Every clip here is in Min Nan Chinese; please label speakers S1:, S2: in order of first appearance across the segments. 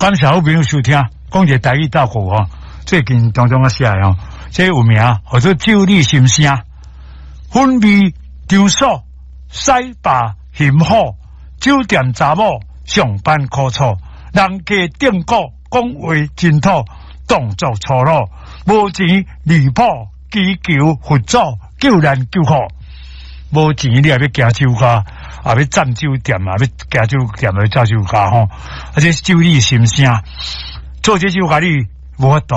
S1: 感謝好朋友收聽，講一个台語鬥句吼，最近當中啊寫的吼，這有名，號做酒女心聲，粉味場所，洗吧欣好，酒店查某上班苦楚，人家頂古講話真土，動作粗魯，無錢離譜，祈求佛祖救難救苦。無錢你也欲行酒家，也欲佔酒店，也欲行酒店，欲走酒家吼。啊，這酒女心聲，做這首歌你無法度，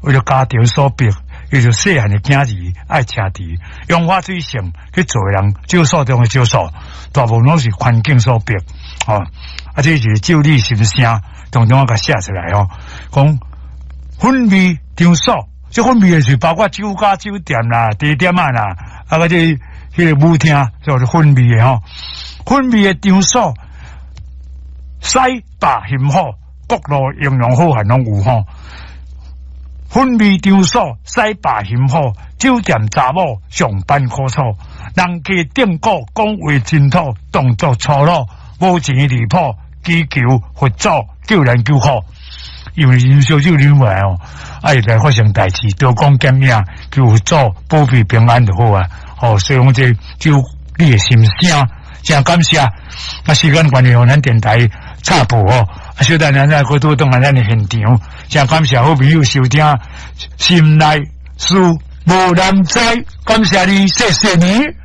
S1: 為著家庭所逼，為著細漢的囝兒愛奢侈，楊花水性去做的人，酒所中的酒所，大部分攏是環境所逼，吼。啊，這是酒女心聲，當中我共寫出來吼，講粉味場所，這粉味的是包括酒家、酒店啦、茶店仔啦，啊個這彼個舞廳叫做粉味的吼，粉味的場所，洗吧欣好，各路英雄好漢攏有吼。粉味場所，洗吧欣好，酒店查某上班苦楚，人家頂古講話真土，動作粗魯，無錢離譜，祈求佛祖救難救苦。因為飲燒酒飲落來哦，啊會來發生代誌，刀光劍影，求佛祖保庇平安就好啊。哦，所以講這酒女的心聲，真感謝。啊，時間關係，咱電台插播哦。啊，小等咱再閣拄轉來咱的現場，真感謝好朋友收聽，心內事無人知，感謝你，謝謝你。